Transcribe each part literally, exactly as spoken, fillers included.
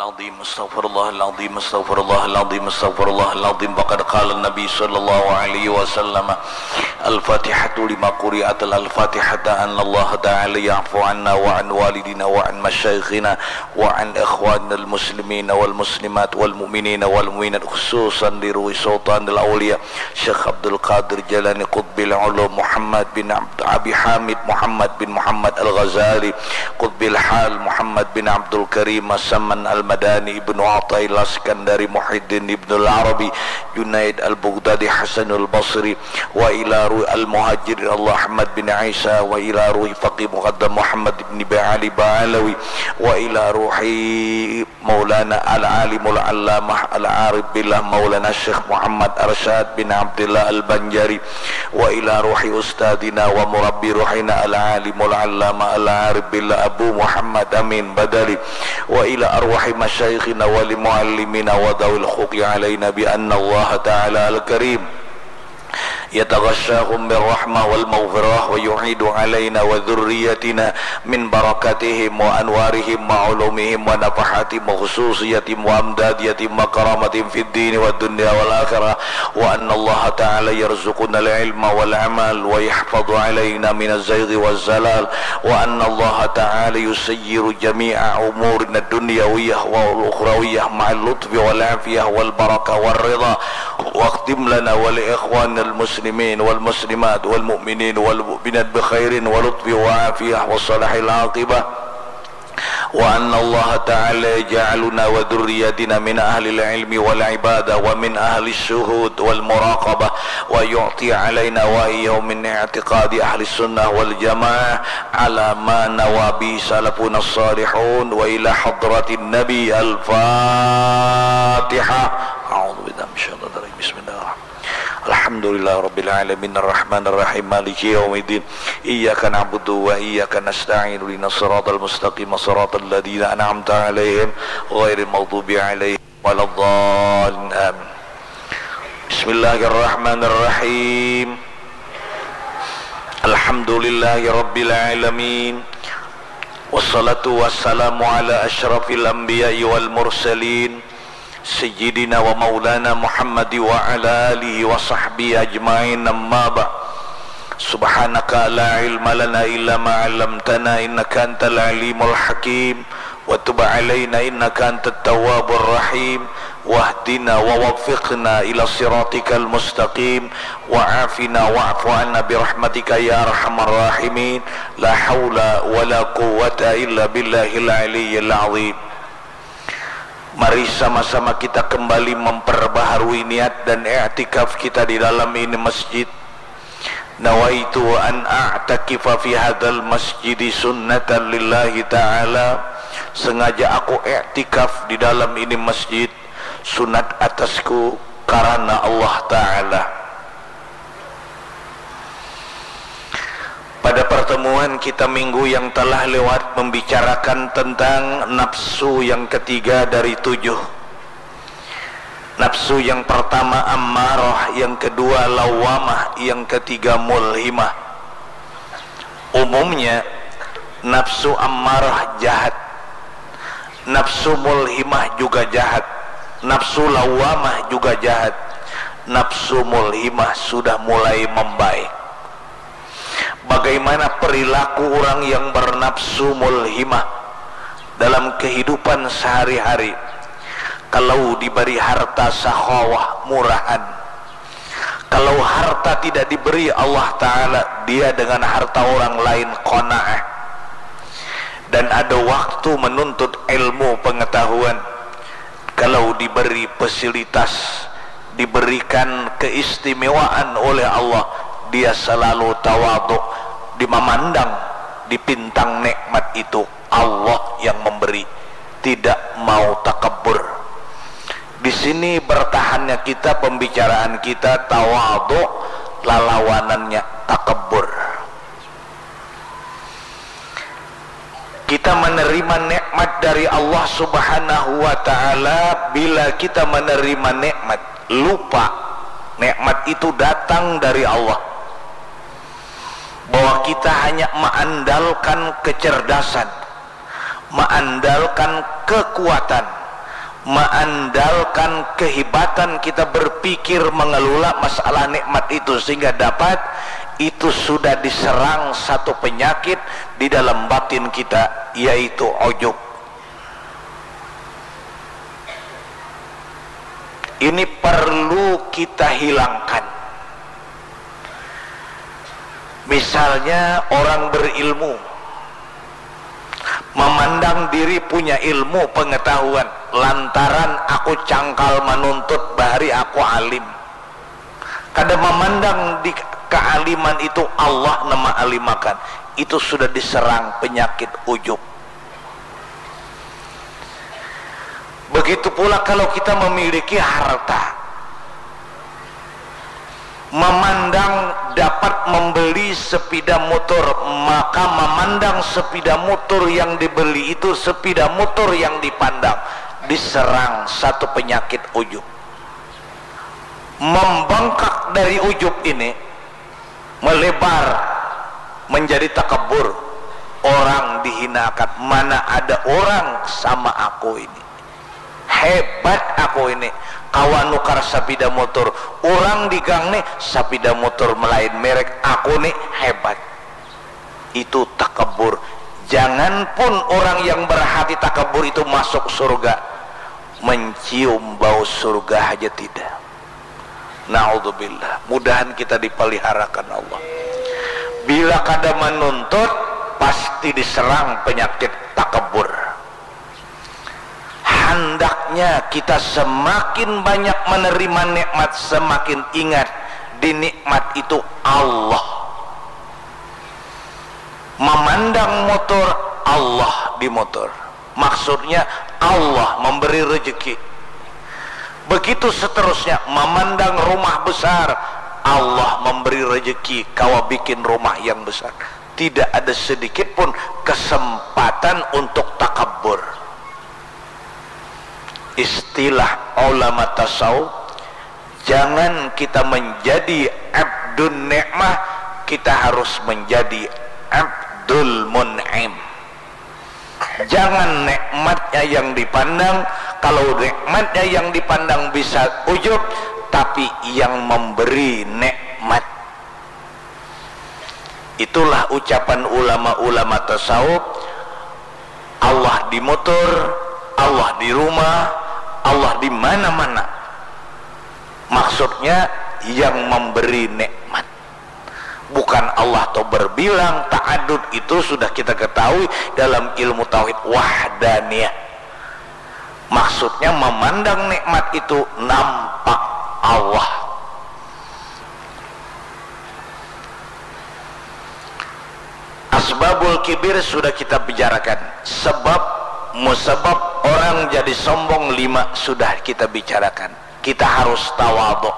العظيم، أستغفر الله العظيم، أستغفر الله العظيم، أستغفر الله العظيم. فقد قال النبي صلى الله عليه وسلم: الفاتحة لما قرئت، الفاتحة، أن الله تعالى يعفو عنا وعن والدينا وعن مشايخنا وعن إخواننا المسلمين والمسلمات والمؤمنين والمؤمنات، خصوصا لروح سلطان الأولياء شيخ عبد القادر جيلاني قطب العلوم، محمد بن عبد أبي حامد محمد بن محمد الغزالي قطب الحال، محمد بن عبد الكريم السمن المداني، ابن عطاء الله السكندري، محي الدين ابن العربي، جنيد البغدادي، حسن البصري، وإلى روح المهاجرين الله أحمد بن عيسى، وإلى روح فقيه مقدم محمد بن علي بعلوي، وإلى روح مولانا العالم العلامة العارف بالله مولانا الشيخ محمد أرشاد بن عبد الله البنجري، وإلى روح أستاذنا ومربي روحنا العالم العلامة العارف بالله أبو محمد أمين بدلي، وإلى أرواح مشايخنا ولمعلمينا وذوي الحقوق علينا بأن الله تعالى الكريم يتغشاهم بالرحمة والمغفرة ويعيد علينا وذريتنا من بركاتهم وأنوارهم وعلومهم ونفحاتهم وخصوصياتهم وأمدادياتهم وكرامتهم في الدين والدنيا والآخرة، وأن الله تعالى يرزقنا العلم والعمل ويحفظ علينا من الزيغ والزلال، وأن الله تعالى يسير جميع أمورنا الدنيوية والأخروية مع اللطف والعافية والبركة والرضا، واختم لنا ولإخواننا المسلمين والمسلمات والمؤمنين والمؤمنات بخير ولطف وعافية وصلاح العاقبة، وأن الله تعالى يجعلنا وذرياتنا من أهل العلم والعبادة ومن أهل الشهود والمراقبة، ويعطي علينا وإياهم من اعتقاد أهل السنة والجماعة على ما نوى به سلفنا الصالحون. وإلى حضرة النبي الفاتحة. أعوذ بالله من الشيطان الرجيم. بسم الله الرحمن الرحيم. الحمد لله رب العالمين، الرحمن الرحيم، مالك يوم الدين، إياك نعبد وإياك نستعين، اهدنا الصراط المستقيم، صراط الذين أنعمت عليهم، غير المغضوب عليهم ولا الضالين. آمين. بسم الله الرحمن الرحيم. الحمد لله رب العالمين. والصلاة والسلام على أشرف الأنبياء والمرسلين، سيدنا ومولانا محمد وعلى آله وصحبه أجمعين. أما بعد. سبحانك لا علم لنا إلا ما علمتنا إنك أنت العليم الحكيم. وتب علينا إنك أنت التواب الرحيم. واهدنا ووفقنا إلى صراطك المستقيم. وعافنا واعف عنا برحمتك يا أرحم الراحمين. لا حول ولا قوة إلا بالله العلي العظيم. Mari sama-sama kita kembali memperbaharui niat dan i'tikaf kita di dalam ini masjid. Nawaitu an a'takifa fi hadzal masjidi sunnatan lillahi ta'ala. Sengaja aku i'tikaf di dalam ini masjid, sunat atasku karena Allah Ta'ala. Pada pertemuan kita minggu yang telah lewat membicarakan tentang nafsu yang ketiga dari tujuh. Nafsu yang pertama ammarah, yang kedua lawamah, yang ketiga mulhimah. Umumnya, nafsu ammarah jahat. Nafsu mulhimah juga jahat. Nafsu lawamah juga jahat. Nafsu mulhimah sudah mulai membaik. Bagaimana perilaku orang yang bernafsu mulhimah dalam kehidupan sehari-hari? Kalau diberi harta sakhawah, murahan. Kalau harta tidak diberi Allah Ta'ala, dia dengan harta orang lain qanaah. Dan ada waktu menuntut ilmu pengetahuan. Kalau diberi fasilitas, diberikan keistimewaan oleh Allah, dia selalu tawaduk, di memandang, dipintang nikmat itu Allah yang memberi, tidak mau takabur. Di sini bertahannya kita, pembicaraan kita tawaduk, lalawanannya takabur. Kita menerima nikmat dari Allah Subhanahu wa Ta'ala. Bila kita menerima nikmat, lupa nikmat itu datang dari Allah, bahwa kita hanya mengandalkan kecerdasan, mengandalkan kekuatan, meandalkan kehebatan kita berpikir mengelola masalah nikmat itu sehingga dapat, itu sudah diserang satu penyakit di dalam batin kita, yaitu ujub. Ini perlu kita hilangkan. Misalnya orang berilmu memandang diri punya ilmu pengetahuan, lantaran aku cangkal manuntut bahari aku alim. Kada memandang di kealiman itu Allah nama alimakan, itu sudah diserang penyakit ujub. Begitu pula kalau kita memiliki harta, memandang dapat membeli sepeda motor, maka memandang sepeda motor yang dibeli itu sepeda motor yang dipandang, diserang satu penyakit ujub. Membengkak dari ujub ini, melebar menjadi takabur. Orang dihinakan, mana ada orang sama aku ini, hebat aku ini, kawa nukar sapida motor, urang di gang nih sapida motor melain merek, aku nih hebat. Itu takabur. Janganpun orang yang berhati takabur itu masuk surga, mencium bau surga haja tidak. Naudzubillah. Mudahan kita dipeliharakan Allah. Bila kada menuntut, pasti diserang penyakit takabur. Handaknya kita semakin banyak menerima nikmat, semakin ingat di nikmat itu Allah. Memandang motor, Allah di motor. Maksudnya Allah memberi rezeki. Begitu seterusnya, memandang rumah besar, Allah memberi rezeki, kawa bikin rumah yang besar. Tidak ada sedikit pun kesempatan untuk takabur. Istilah ulama tasawuf, jangan kita menjadi abdun nikmah, kita harus menjadi abdul mun'im. Jangan nikmatnya yang dipandang, kalau nikmatnya yang dipandang bisa ujub, tapi yang memberi nikmat. Itulah ucapan ulama-ulama tasawuf, Allah di motor, Allah di rumah, Allah di mana-mana. Maksudnya yang memberi nikmat. Bukan Allah atau berbilang, ta'adud itu sudah kita ketahui dalam ilmu tauhid wahdaniyah. Maksudnya memandang nikmat itu nampak Allah. Asbabul kibir sudah kita bicarakan. Sebab musabab orang jadi sombong lima sudah kita bicarakan. Kita harus tawaduk.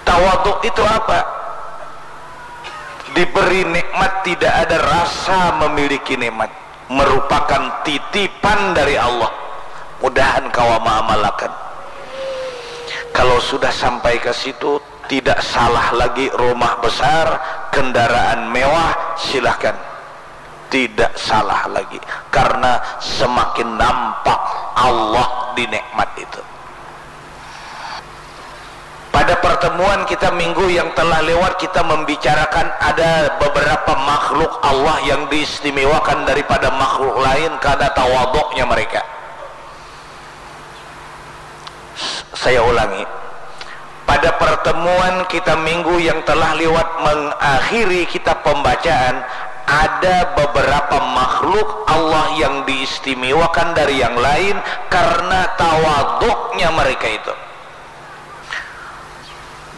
Tawaduk itu apa? Diberi nikmat tidak ada rasa memiliki nikmat, merupakan titipan dari Allah. Mudahan kawa maamalakan. Kalau sudah sampai ke situ, tidak salah lagi rumah besar, kendaraan mewah, silahkan. Tidak salah lagi, karena semakin nampak Allah di nikmat itu. Pada pertemuan kita minggu yang telah lewat, kita membicarakan ada beberapa makhluk Allah yang diistimewakan daripada makhluk lain karena tawaduknya mereka. Saya ulangi, pada pertemuan kita minggu yang telah lewat mengakhiri kitab pembacaan, ada beberapa makhluk Allah yang diistimewakan dari yang lain karena tawaduknya mereka itu.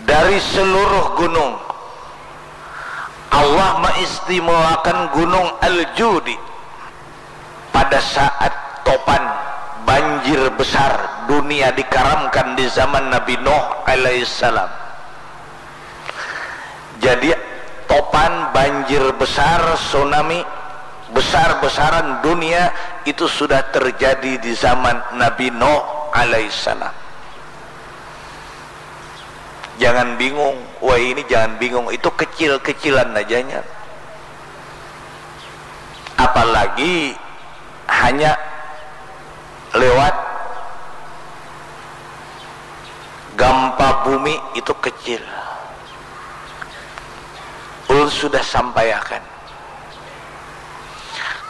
Dari seluruh gunung, Allah mengistimewakan gunung Al-Judi. Pada saat topan banjir besar, dunia dikaramkan di zaman Nabi Nuh alaihissalam. Jadi topan, banjir besar, tsunami besar-besaran dunia itu sudah terjadi di zaman Nabi Nuh alaihissalam. Jangan bingung, wah ini jangan bingung, itu kecil-kecilan ajanya. Apalagi hanya lewat Gampa bumi itu kecil. Ulun sudah sampaiakan.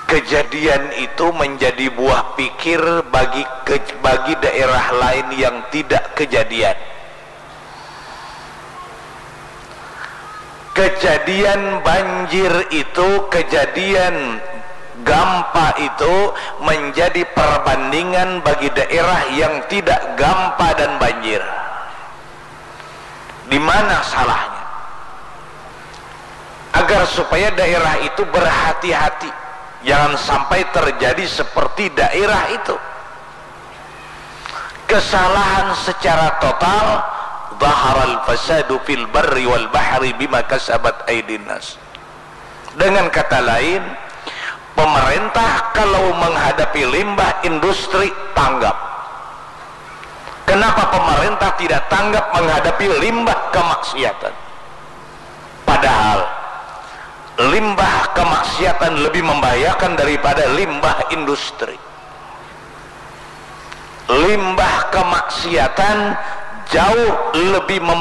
Kejadian itu menjadi buah pikir bagi ke, bagi daerah lain yang tidak kejadian. Kejadian banjir itu, kejadian gampa itu menjadi perbandingan bagi daerah yang tidak gampa dan banjir. Di mana salahnya? Agar supaya daerah itu berhati-hati, jangan sampai terjadi seperti daerah itu. Kesalahan secara total, zaharal fasadu fil barri wal bahri bima kasabat aidin nas. Dengan kata lain, pemerintah kalau menghadapi limbah industri tanggap. Kenapa pemerintah tidak tanggap menghadapi limbah kemaksiatan? Padahal limbah kemaksiatan lebih membahayakan daripada limbah industri. Limbah kemaksiatan jauh lebih